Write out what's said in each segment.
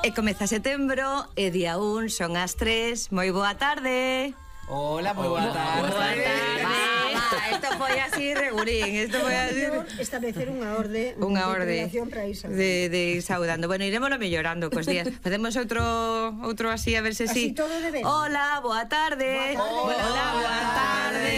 E comeza setembro, e día 1, son as 3. Moi boa tarde. Hola, moi boa tarde. Boa tarde. Isto foi así regulín, isto foi así. Establecer unha orde de relación para Isa. de saudando. Bueno, iremoslo mellorando cos días. Facemos outro así a ver se así si. todo de ben. Hola, boa tarde. Hola, boa tarde.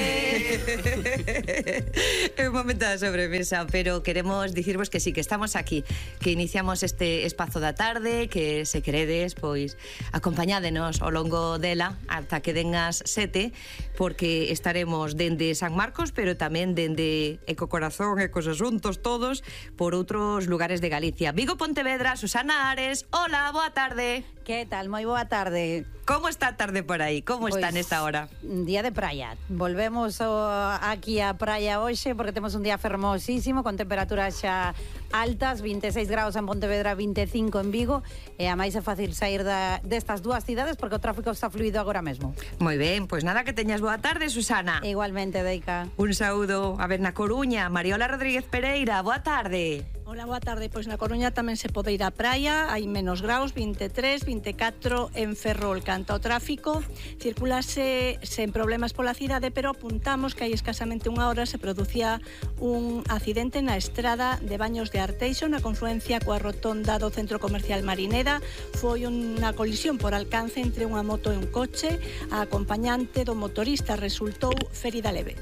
É un momento da sobremesa, pero queremos dicirvos que sí, que estamos aquí, que iniciamos este espazo da tarde, que se queredes, pois acompañádenos ao longo dela ata que den as 7, porque estaremos dende San Marcos, pero tamén dende Ecocorazón e cos asuntos todos por outros lugares de Galicia. Vigo, Pontevedra, Susana Ares. Hola, boa tarde. Que tal? Moi boa tarde. Como está a tarde por aí? Como está nesta hora? Día de praia. Volvemos aquí á praia hoxe porque temos un día fermosísimo con temperaturas xa altas, 26 graus en Pontevedra, 25 en Vigo, e a máis é fácil sair destas dúas cidades porque o tráfico está fluido agora mesmo. Moi ben, pois nada, que teñas boa tarde, Susana. Igualmente, Deica. Un saúdo. A ver, na Coruña, Mariola Rodríguez Pereira, boa tarde. Hola, boa tarde. Pois na Coruña tamén se pode ir á praia, hai menos graus, 23, 24 en Ferrol. Canto ao tráfico, circulase sen problemas pola cidade, pero apuntamos que hai escasamente unha hora se producía un accidente na estrada de Baños de Arteixo, na confluencia coa rotonda do Centro Comercial Marinera. Foi unha colisión por alcance entre unha moto e un coche. A acompañante do motorista resultou ferida leve.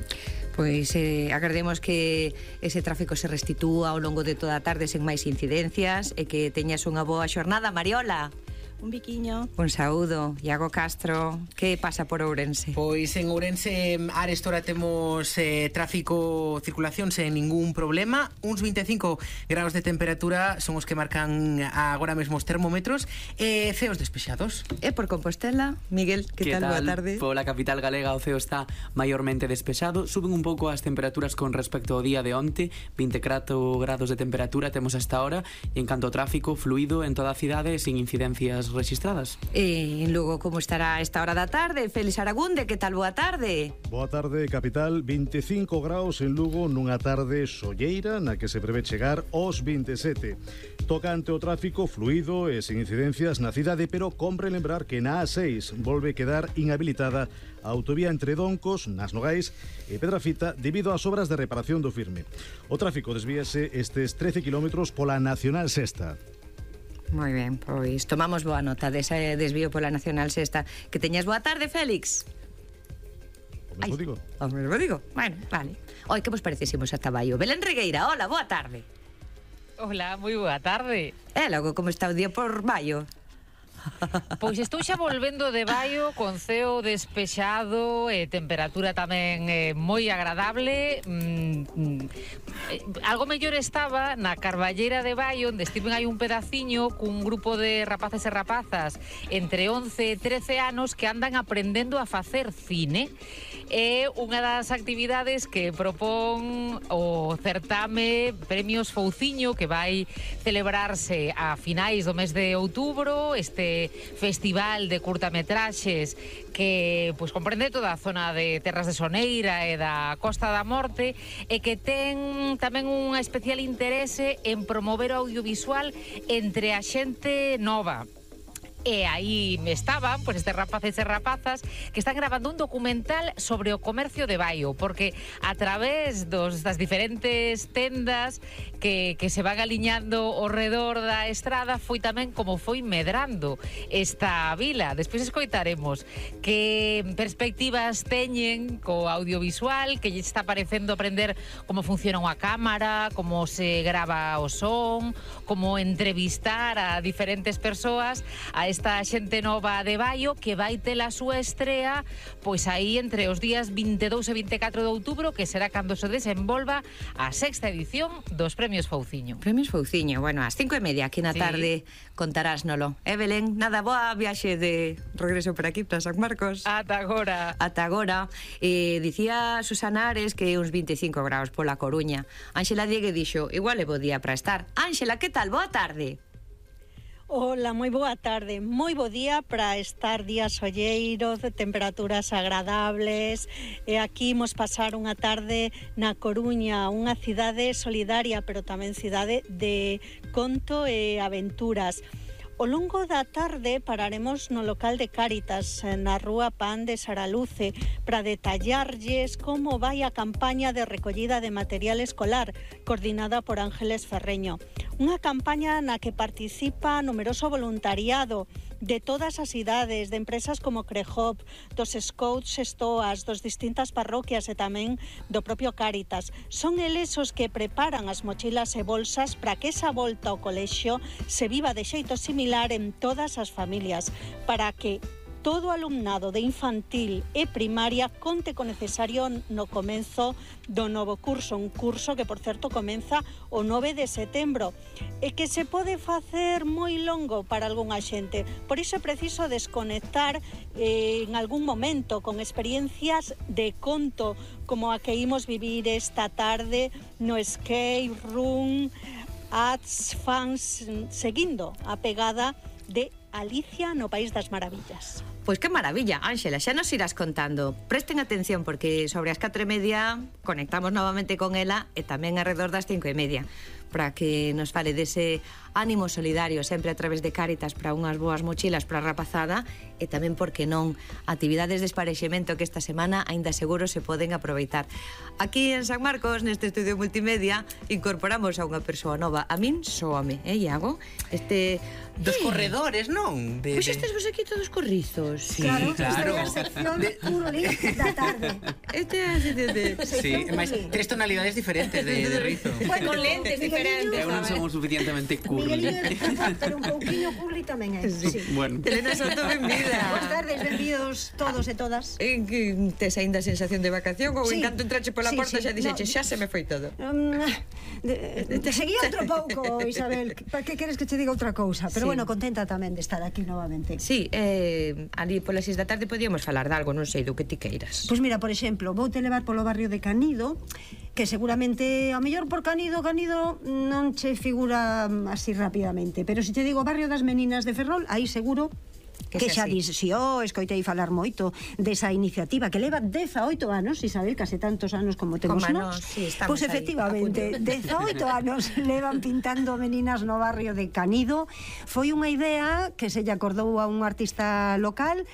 Pois agardemos que ese tráfico se restitúa ao longo de toda a tarde sen máis incidencias e que teñas unha boa xornada, Mariola. Un biquiño. Un saúdo. Iago Castro, que pasa por Ourense? Pois en Ourense a esta hora temos tráfico, circulación sen ningún problema. Uns 25 graus de temperatura son os que marcan agora mesmo os termómetros. Ceos despexados. E por Compostela, Miguel, que tal? Boa tarde. Pola capital galega o ceo está maiormente despexado. Suben un pouco as temperaturas con respecto ao día de onte. 24 grados de temperatura temos hasta ahora. E en canto ao tráfico, fluido en toda a cidade sin incidencias registradas. E en Lugo, como estará a esta hora da tarde? Félix Aragunde, que tal? Boa tarde. Boa tarde, capital. 25 graus en Lugo nunha tarde solleira na que se prevé chegar aos 27. Tocante o tráfico, fluido e sin incidencias na cidade, pero compre lembrar que na A6 volve quedar inhabilitada a autovía entre Doncos, Nas Nogais e Pedrafita debido ás obras de reparación do firme. O tráfico desvíase estes 13 kilómetros pola Nacional Sexta. Moi ben, pois tomamos boa nota dese desvío pola Nacional Sexta. Que teñas boa tarde, Félix. O mesmo digo. O mesmo digo. Bueno, vale. Oi, que vos parecésemos ata Baio? Belén Regueira, hola, boa tarde. Hola, moi boa tarde. E logo, como está o día por Baio? Pois estou xa volvendo de Baio con ceo despexado e temperatura tamén moi agradable. Algo mellor estaba na Carballera de Baio, onde estiven hai un pedaciño cun grupo de rapaces e rapazas entre 11 e 13 anos que andan aprendendo a facer cine. É unha das actividades que propón o certame Premios Fouciño, que vai celebrarse a finais do mes de outubro, este festival de curtametraxes que pois comprende toda a zona de Terras de Soneira e da Costa da Morte, e que ten tamén unha especial interese en promover o audiovisual entre a xente nova. E aí estaban, pois, estes rapaces e rapazas que están gravando un documental sobre o comercio de Baio, porque a través das diferentes tendas que se van aliñando ao redor da estrada foi tamén como foi medrando esta vila. Despois escoitaremos que perspectivas teñen co audiovisual, que lle está parecendo aprender como funciona unha cámara, como se grava o son, como entrevistar a diferentes persoas, a esta xente nova de Baio que vai ter a súa estrea pois aí entre os días 22 e 24 de outubro, que será cando se desenvolva a sexta edición dos Premios Fouciño. Premios Fouciño, bueno, ás 5:30 aquí na tarde contarásnolo. Belén, nada, boa viaxe de regreso por aquí, para San Marcos. Ata agora. Ata agora. Dicía Susana Ares que uns 25 graus pola Coruña. Ángela Diegue dixo, igual é bo día para estar. Ángela, que tal? Boa tarde. Hola, moi boa tarde. Moi bo día para estar días solleiros, de temperaturas agradables. E aquí imos pasar unha tarde na Coruña, unha cidade solidaria, pero tamén cidade de conto e aventuras. Ao longo da tarde pararemos no local de Cáritas, na rúa Pan de Saraluce, para detallarlles como vai a campaña de recollida de material escolar, coordinada por Ángeles Ferreño. Unha campaña na que participa numeroso voluntariado de todas as idades, de empresas como Crehop, dos Scouts Estoas, dos distintas parroquias e tamén do propio Cáritas. Son eles os que preparan as mochilas e bolsas para que esa volta ao colexio se viva de xeito similar en todas as familias, para que todo alumnado de infantil e primaria conte co necesario no comenzo do novo curso, un curso que, por certo, comeza o 9 de setembro e que se pode facer moi longo para algunha xente. Por iso é preciso desconectar en algún momento con experiencias de conto como a que imos vivir esta tarde no Escape Room Ads Fans, seguindo a pegada de Alicia no País das Maravillas. Pois que maravilla, Ángela, xa nos irás contando. Presten atención porque sobre as 4:30 conectamos novamente con ela e tamén alrededor das 5:30 para que nos fale dese ánimo solidario sempre a través de Cáritas para unhas boas mochilas para a rapazada e tamén, porque non, actividades de esparexemento que esta semana aínda seguro se poden aproveitar. Aquí en San Marcos, neste estudio multimedia, incorporamos a unha persoa nova. A min soame, Iago? Dos corredores, non? Pois estes vos aquí todos corrizos. Sí, claro. Esta é a sección Curoli da tarde. Este é a sección de... Sí, mas 3 tonalidades diferentes de rizo. Con lentes diferentes. Eu non son o suficientemente curly. Pero un pouquiño curly tamén é. Sí. Bueno. Elena Soto, benvida. Boas tardes, benvidos todos e todas. Que tes aínda sensación de vacación ou en canto entrache pola porta xa dixeche, xa se me foi todo? Te seguía outro pouco, Isabel. Para que queres que te diga outra cousa? Pero bueno, contenta tamén de estar aquí novamente. Sí, ali polas 6 da tarde podíamos falar de algo, non sei, do que ti queiras. Pois mira, por exemplo, voute levar polo barrio de Canido, que seguramente, ao mellor por Canido non che figura así rapidamente, pero se te digo barrio das Meninas de Ferrol, aí seguro que xa dis, escoitei falar moito desa iniciativa que leva 18 anos, Isabel, case tantos anos como temos nós. Sí, pois efectivamente, 18 anos levan pintando meninas no barrio de Canido. Foi unha idea que se lle acordou a un artista local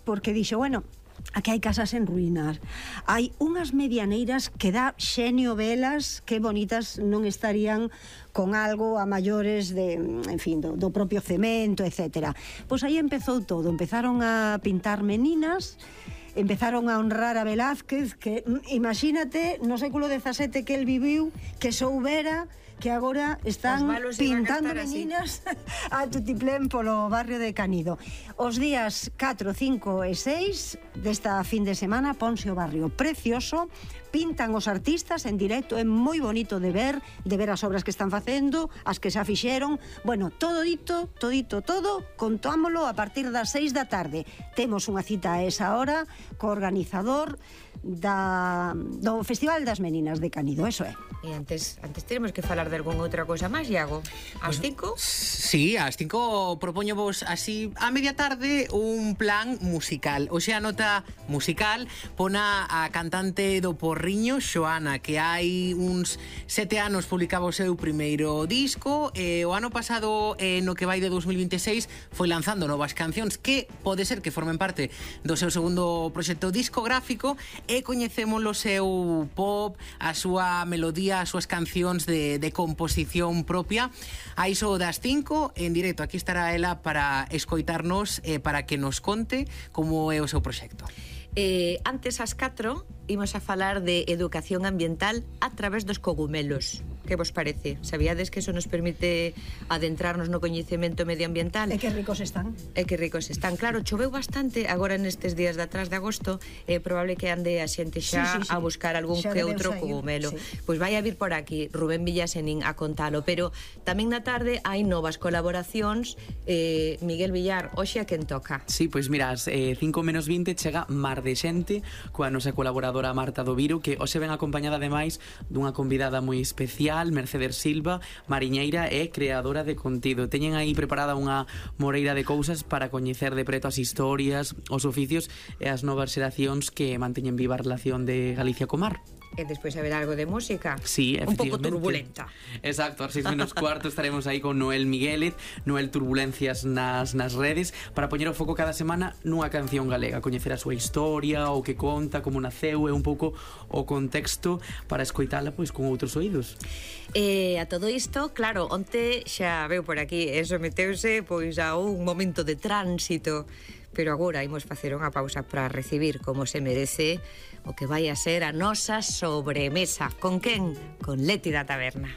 porque dixo, bueno, aquí hai casas en ruínas, hai unhas medianeiras que dá xenio velas, que bonitas non estarían con algo a maiores de, en fin, do propio cemento, etc. Pois aí empezou todo, empezaron a pintar meninas, empezaron a honrar a Velázquez, que imagínate no século XVII que el viviu, que soubera que agora están pintando meninas a tutiplén polo barrio de Canido. Os días 4, 5 e 6 desta fin de semana ponse o barrio precioso, pintan os artistas en directo, é moi bonito de ver as obras que están facendo, as que xa fixeron. Bueno, todo, contámolo a partir das 6 da tarde. Temos unha cita a esa hora co organizador do Festival das Meninas de Canido, eso é. E antes teremos que falar de algunha outra cousa máis, Iago. Ás 5? Sí, ás 5 propoño vos así a media tarde un plan musical. Oxe, a nota musical pona a cantante do Porriño, Xoana, que hai uns 7 anos publicaba o seu primeiro disco e o ano pasado, no que vai de 2026, foi lanzando novas cancións que pode ser que formen parte do seu segundo proxecto discográfico e coñecemos o seu pop, a súa melodía, as súas cancións de composición propia. A iso das 5, en directo, aquí estará ela para escoitarnos e para que nos conte como é o seu proxecto. Antes ás 4 imos a falar de educación ambiental a través dos cogumelos. Que vos parece? Sabíades que eso nos permite adentrarnos no coñecemento medioambiental? E que ricos están. Claro, choveu bastante agora nestes días de atrás de agosto, é probable que ande a xente xa a buscar algún xa que outro cogumelo. Pois vai a vir por aquí Rubén Villasenín a contalo, pero tamén na tarde hai novas colaboracións. Miguel Villar, hoxe a quen toca? Sí, pois mira, 5:20 chega Mar de Xente coa nosa colaboradora Marta Doviro, que hoxe ven acompañada ademais dunha convidada moi especial, Mercedes Silva, mariñeira e creadora de contido. Teñen aí preparada unha moreira de cousas para coñecer de preto as historias, os oficios e as novas xeracións que manteñen viva a relación de Galicia co mar. E despois haber algo de música. Sí, un pouco efectivamente. turbulenta. Exacto, ás 6:15 estaremos aí con Noel Miguélez, Noel Turbulencias nas redes, para poñer o foco cada semana nunha canción galega, coñecer a súa historia, o que conta, como naceu e un pouco o contexto para escoitala pois con outros oídos. A todo isto, claro, onte xa veu por aquí, eso meteuse pois a un momento de tránsito, pero agora imos facer unha pausa para recibir como se merece o que vai a ser a nosa sobremesa. Con quen? Con Leti da Taberna.